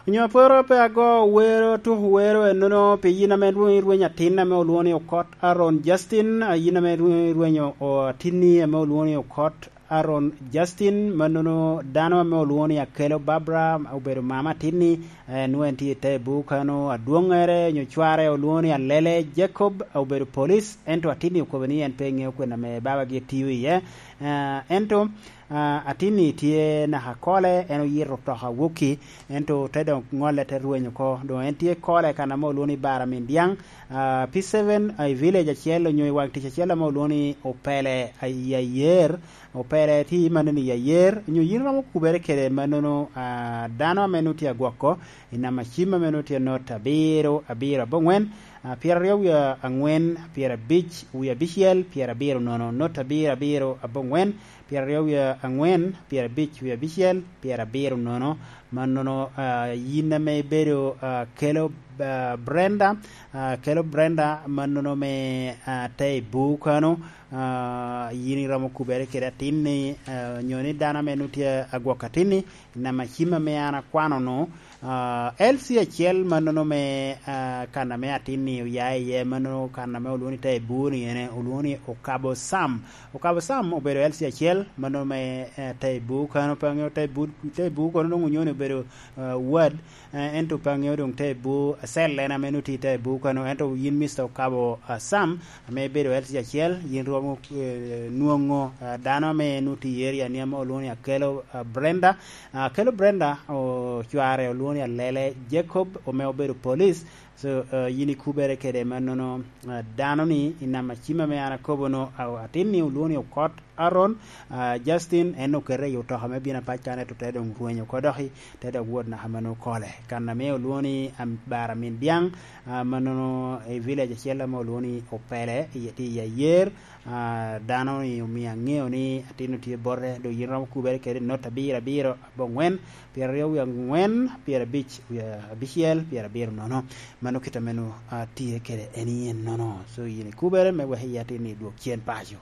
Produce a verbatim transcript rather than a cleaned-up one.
Onyo aporo pe ago wero, tuko wero ennono pi yin ame rweny, rweny atin ame olwoŋo ni Okot Aaron Justin, a yin ame rweny, rweny o-, o-, atinni ame olwoŋo ni Okot Aaron Justin, mannono dano ame olwoŋo ni Akelo Barbara, obedo mama atinni, eh, nwoŋo en tye i te bukano, adwoŋŋere onyo cware olwoŋo ni Alele Jacob, obedo police, ento atinni okobo ni en pe ŋeo kwena ame babagi etio iye. Eh, ento, ah, atinni tye naka kole, en oyito otoka wokki, ento te dok ŋolle te rweny oko. Doŋ en tye kole kan ame olwoŋo ni Bara Min Dyaŋ, ah, P seven, ah, i village acel onyo i waŋ tic acel ame olwoŋo ni Opele, ah, i Ayer. Opele tye mannono i Ayer, onyo yin romo kubere kede mannono, ah, dano ame nwoŋo tye agwoko, i namba cim ame nwoŋo tye not abiro, abiro aboŋwen, ah, pyeraryo wie aŋwen, pyerabic wie abicel, pyerabiro nono, not abiro, abiro aboŋwen, pyeraryo wie aŋwen, pyerabic wie abicel, pyerabiro nono. Mannono, ah, yin ame ibedo, ah, kelo, ah, Brenda, ah, kelo Brenda, mannono me, ah, te i bukano, ah, yin iromo kubere kede atinni, ah, onyo ni dano ame nwoŋo tye agwok atinni, namba cim ame an akwano-nu, ah, L C acel mannono me, ah, kan ame atinni oya iye, mannono kan ame olwoŋo ni te i bur-ni ene, olwoŋo ni Okabo Sam. Okabo Sam obedo L C acel, mannono me, eh, te i bur kano, pe aŋeo te i bur, te i bur kono doŋ onyo ni obedo, ah, ward, eh, ento pe aŋeo doŋ te i bur, cell en ame nwoŋo tye i te i bur kano, ento yin Mister Okabo, ah, Sam, ame ibedo L C acel, yin romo, eh, nwoŋo, ah, dano ame nwoŋo tye i area ni ame olwoŋo ni Akelo, ah, Brenda. Ah, Akelo Brenda, o-, cware olwoŋo ni Alele Jacob, ame obedo police. So, ah, yin ikubere kede mannono, ah, dano ni i namba cim ame an akobo-nu, ah, atin ni olwoŋo ni Okot Aaron, ah, Justin, en okete i otoka me bino apac kan, ento te doŋ rwenyo oko doki, te dok wot naka mannono kole. Kan ame olwoŋo ni, am-, Bara Min Dyaŋ, ah, mannono i village acel ame olwoŋo ni Opele, i, tye i Ayer, ah, dano ni omio aŋeo ni atin-nu tye bote, doŋ yin romo kubere kede not abiro abiro aboŋwen, pyeraryo wie aŋwen, pyerabic wie abicel, pyerabiro nono. Mano kit ame nwoŋo, ah, tye kede en i ennono. So, yin ikubere me wek i atin-ni dwok cen paco.